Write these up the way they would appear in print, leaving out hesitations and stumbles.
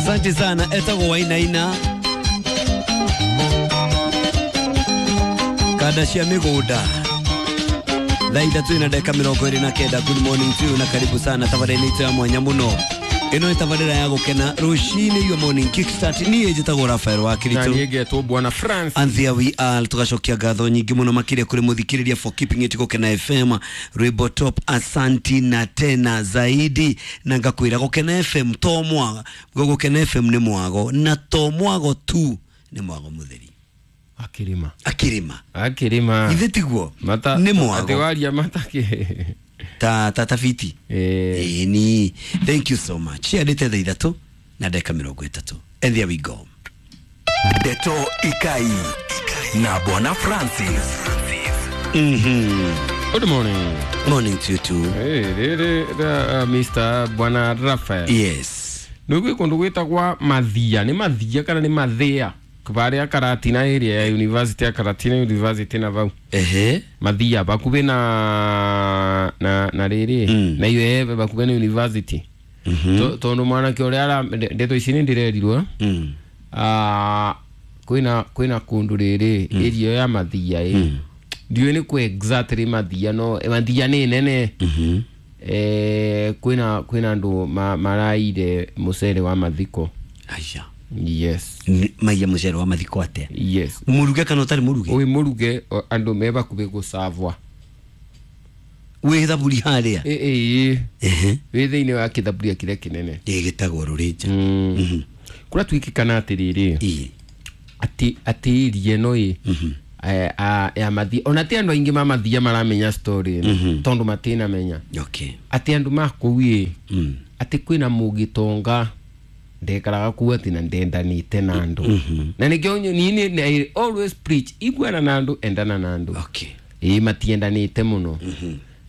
Asante sana etagwo Wainaina kanda cia migunda thaa ithatũ na ndagĩka 29. Good morning to you na karibu sana tabarĩra-inĩ itũ ya mwanya mũno. Ĩno nĩ tabarĩra ya gũkena rũcinĩ, your morning kickstart. Niĩ njĩtagwo Rafael wa Na Kiritu niĩ ngetwo Bwana France. And there we are, tugacokia ngatho nyingĩ mũno makĩria kũrĩ mũthikĩrĩria for keeping it Gũkena FM rwĩmbo top. Asanti na tena zaidi, na ngakwĩra Gũkena FM to mwago, Gũkena FM nĩ mwago, na to mwago tu, nĩ mwago mũtheri. Akĩrĩma. Akĩrĩma. Akĩrĩma. Ithe tiguo Mata nĩ atĩ mwago waria matake. ta tabiti. Eh. Ĩni, thank you so much. Ciandĩte thaa ithatũ na ndagĩka 30, and there we go. Ndeto Ikai na Bwana Francis. Good morning. Morning to you too. Hey, rĩrĩ Mr. Bwana Rafael. Yes. Nĩ gwĩ kũndũ gwĩtagwa Mathia, nĩ Mathia kana nĩ Mathia? Barĩa Karatina area ya University ya Karatina University na vau. Ehe. Mathia bakubĩ na rĩrĩ na iyo bakubĩ na university. Tondũ mwanake ũrĩa ara ndeto ici nĩ ndĩrerirwo. Ah, kwĩna kũndũ rĩrĩ area ya Mathia ĩ. Ndiũĩ nĩ kũ exactly Mathia, no Mathia nĩ nene. Kwĩna andũ maraire mũcere wa mathiko. Aya. Yes. Maiya mũcere wa mathiko atĩa? Yes. Mũruge kana ũtarĩ mũruge? Wĩ mũruge, andũ me bakubĩ gũcavwa. Wĩ thaburi harĩa? Ĩ ĩ. Ehe. Wĩ thĩinĩ wa kĩthaburia kĩrĩa kĩnene. Ĩ, gĩtagwo rũrĩnja. Kũrĩa twĩkĩkana atĩrĩrĩ, Ĩ. atĩ area ĩno ĩ ya Mathia, ona ti andũ aingĩ ma Mathia maramenya story ĩno tondũ matinamenya. Okay. Atĩ andũ ma kũu ĩ, atĩ kwĩna mũgĩtonga ndekaraga kuu, atĩ na ndendanĩte na andũ, na nĩkĩo niĩ I always preach, iguana na andũ, endana na andũ. Okay. Ĩ, matiendanĩte mũno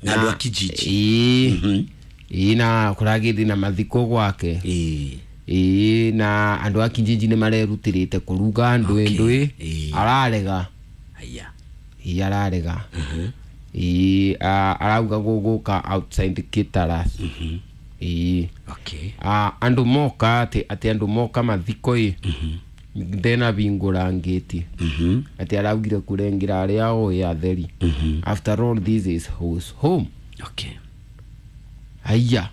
Na andũ a kijiji. Ĩ ĩ, na kũragĩthi na mathiko gwake. Ĩ. Ĩ, na andũ a kijiji nĩ marerutĩrĩte kũruga ndũĩ. Okay. Ndũĩ. Ĩ. Ararega. Aya. Ĩ, ararega. Ĩ, arauga gũgũka outside Kitaras. Ĩ. Okay. Andũ moka atĩ andũ moka mathiko ĩ, ndena bingũra ngĩti, atĩ araugire kũrengera arĩa oĩ atheri. After all, this is his home. Okay. Aya,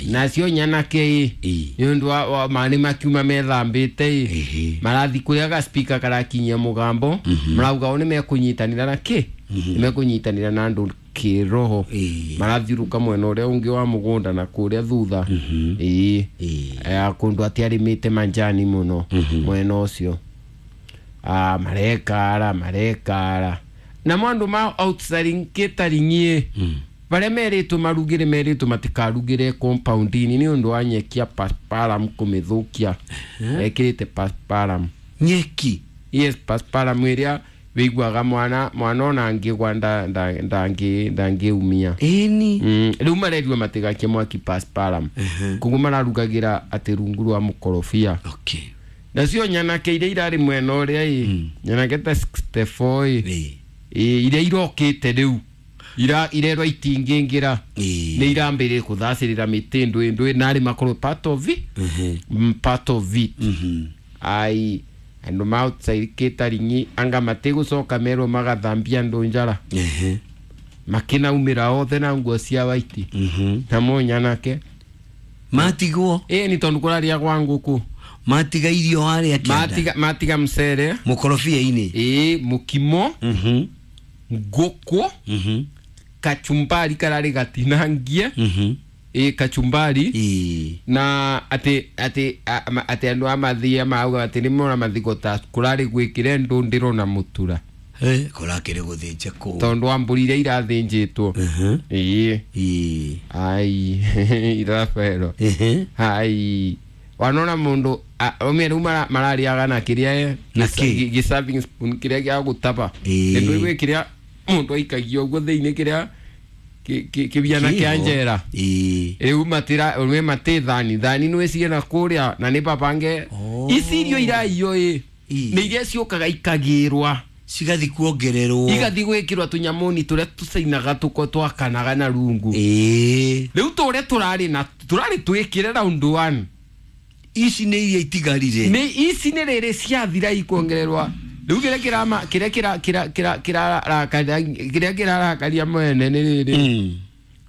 nacio nyanake ĩ, Ĩ. nĩ ũndũ wa maĩ makiuma methambĩte ĩ, Ehe. marathi kũrĩa ga speaker karakinyia mũgambo, marauga o nĩ mekũnyitanĩra na kĩ, nĩ mekũnyitanĩra na andũ kĩroho. Ĩ. Marathiũrũka mwena ũrĩa ũngĩ wa mũgũnda na kũrĩa thutha, ĩĩ. Ĩ. Kũndũ atiarĩmĩte manjani mũno mwena ũcio. Ah, marekara marekara namo andũ ma outsiding kĩtaring'i barĩa merĩtwo marugĩre, merĩtwo matikarugĩre compound-inĩ nĩ ũndũ wa nyeki ya pasparam kũmĩthũkia, ekĩrĩte pasparam. Nyeki. Yes, pasparam ĩrĩa wĩiguaga mwana ona angĩgwa ndangĩumia. Ĩni. Rĩu marerirwo matigakie mwaki pasparam, koguo mararugagĩra atĩ rungu rwa mũkorobia. Okay. Nacio nyanake iria irarĩ mwena ũrĩa ĩ, nyanake ta 64 ĩ, Ĩ. ĩ, iria irokĩte rĩu irerwo itingĩingĩra. Ĩ. Nĩ irambĩrĩria kũthacĩrĩra mĩtĩ ndũĩ ndũĩ narĩ makorwo part of it, part of it. Ai, andũ ma outside kĩtaring'i anga matigũcoka merwo magathambia andũ njara. Ehe. Makĩnaumĩra othe na nguo cia waiti namo nyanake. Matigwo. Ĩ, nĩ tondũ kũrarĩa gwa ngũkũ. Matiga irio harĩa kĩanda. Matiga mcere. Mũkorobia-inĩ. Ĩ, mũkimo, ngũkũ, kachumbari kararĩ gatinangie. Ĩ, kachumbari. Ĩ. Na atĩ andũ a Mathia mauga atĩ nĩ mona mathiko ta kũrarĩ gwĩkĩre ndũndĩro na mũtura. Eh, kũrakĩrĩ gũthĩnja kũu. Tondũ wa mbũri iria irathĩnjĩtwo. Ĩ. Ĩ. Ai, Rafaelo. Ehe. Ai, wanona mundu omie riu marariaga na kiria Na kĩ? gi serving spoon kiria gia gutaba. Ĩĩ. Ndu igwe kiria mundu aikagia uguo thiini kiria kibiana kia Kĩho. njera. Ĩ. Riu matira we mati thani thani nä ciena kuria na nä babange. Oh. Ici irio iraiyo ä Ĩĩ. nä iria ciåkaga ikagärwa. Cigathi kuongererwo. Igathi gwä kä rwo tå nyamåni tå rä a tå cainaga tå ko twakanaga na rungu. Ĩ. Rä u tå rä a tå rarä na tå rarä twä kä re round one. Ici nĩ iria itigarire. Nĩ ici nĩ rĩrĩ ciathira ikuongererwa rĩu kĩrĩa kĩrama kĩrĩa kĩra kĩra kĩra kĩrarakaria kĩrĩa kĩrarakaria mwene nĩ rĩrĩ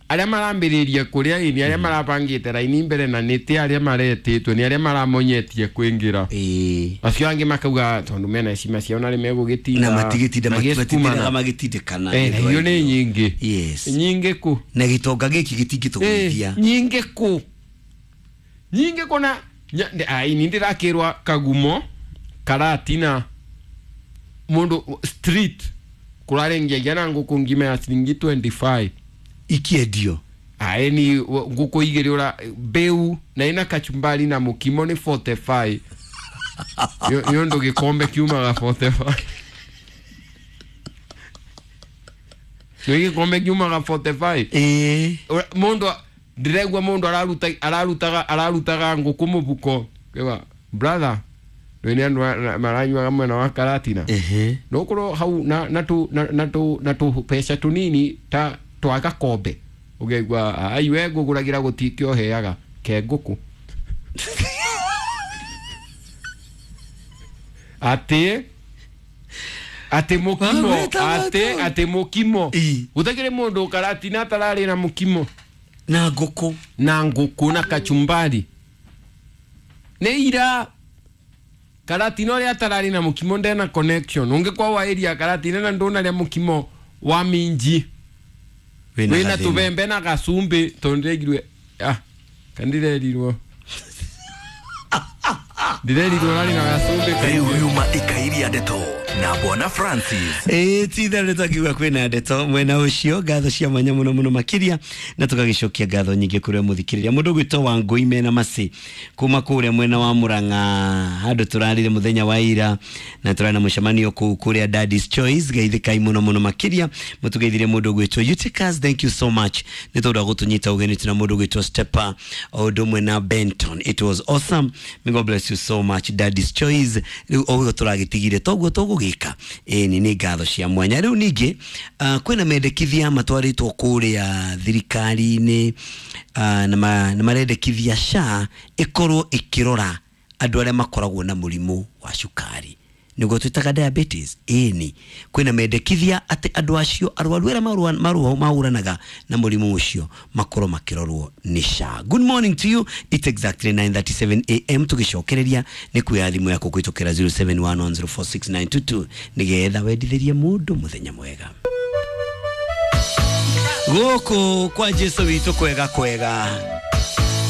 arĩa marambĩrĩria kũrĩa ĩni arĩa marabangĩte raini mbere na nĩ ti arĩa maretĩtwo nĩ arĩa maramonyetie kwĩngĩra. Ĩĩ. Acio angĩ makauga tondũ mena heshima ciao na nĩ megũgĩtinda Na matigĩtinda magĩsukumana. matitindĩraga magĩtindĩkana. Eh, na irio nĩ nyingĩ. Yes. Nyingĩ kũ? Na gĩtonga gĩkĩ gĩtingĩtũgũithia. Eh, nyingĩ kũ? Nyingĩ kũ na ai ni ndĩrakĩrwa Kagumo Karatina mũndũ street kũrarengiagia na ngũkũ ngima ya ciringi 25 Ikiendio. Ae ni ngũkũ igĩrĩ ũra mbĩu na ina kachumbari na mũkimo nĩ 45 nĩ ũndũ gĩkombe kiumaga 45 nĩ gĩkombe kiumaga 45. Ĩĩ. Mũndũ ndĩraigua mũndũ araruta ararutaga ararutaga ngũkũ mũbuko kĩwa brother rĩu nĩ andũ maranyuaga mwena wa Karatina. Ehe. No korwo hau na na tu na na tu na tu peca tunini ta twa gakombe ũkaigua ai we ngũgũragĩra gũtikĩ ũheaga ke ngũkũ atĩ atĩ mũkimo Wamwĩta atĩ watu. atĩ mũkimo Ĩ. gũtakĩrĩ mũndũ Karatina atararĩ na mũkimo Na ngũkũ. Na ngũkũ na kachumbari nĩ ira Karatina ũrĩa atararĩ na mũkimo ndena connection ũngĩkwa wa area Karatina na ndũnarĩa mũkimo wa minji Wĩna wĩna gathĩna. tũbembe na gacumbĩ tondũ ndĩraigirwe ah kandirerirwo ndĩrerirwo rarĩ na gacumbĩ. Rĩu yuma ikairia ndeto na Bwana Francis. Ĩĩ ti itherũ nĩ twakiuga kwĩna ndeto mwena ũcio ngatho cia mwanya mũno mũno makĩria na tũgagĩcokia ngatho nyingĩ kũrĩ mũthikĩrĩria mũndũ ũgwĩtwo Wangũi mena macĩ kuma kũrĩa mwena wa Mũrang'a handũ tũrarire mũthenya wa ira na tũrarĩ na mũcemanio kũu kũrĩa Daddy's Choice geithĩkai mũno mũno makĩria mũtũgeithirie mũndũ ũgwĩtwo Eutychus, thank you so much nĩ tondũ wa gũtũnyita ũgeni tuna mũndũ ũgwĩtwo Stepper o ũndũ ũmwe na Benton. It was awesome. May God bless you so much. Daddy's Choice rĩu o ũguo tũragĩtigire toguo tũgũgĩka ĩni nĩ ngatho cia mwanya rĩu ningĩ kwĩna mendekithia matwarĩtwo kũrĩa thirikari-inĩ na marendekithia SHA ĩkorwo ĩkĩrora andũ arĩa makoragwo na mũrimũ wa cukari nĩguo twĩtaga diabetes. Ĩni kwĩna mendekithia atĩ andũ acio arwaru arĩa mahũranaga na mũrimũ ũcio makorwo makĩrorwo nĩ SHA. Good morning to you. It's exactly 9:37 am tũgĩcokereria nĩ kuoya thimũ yaku kũhĩtũkĩra 0711046922 nĩgetha wendithĩrie mũndũ mũthenya mwega gũkũ kwa Jesu witũ kwega kwega.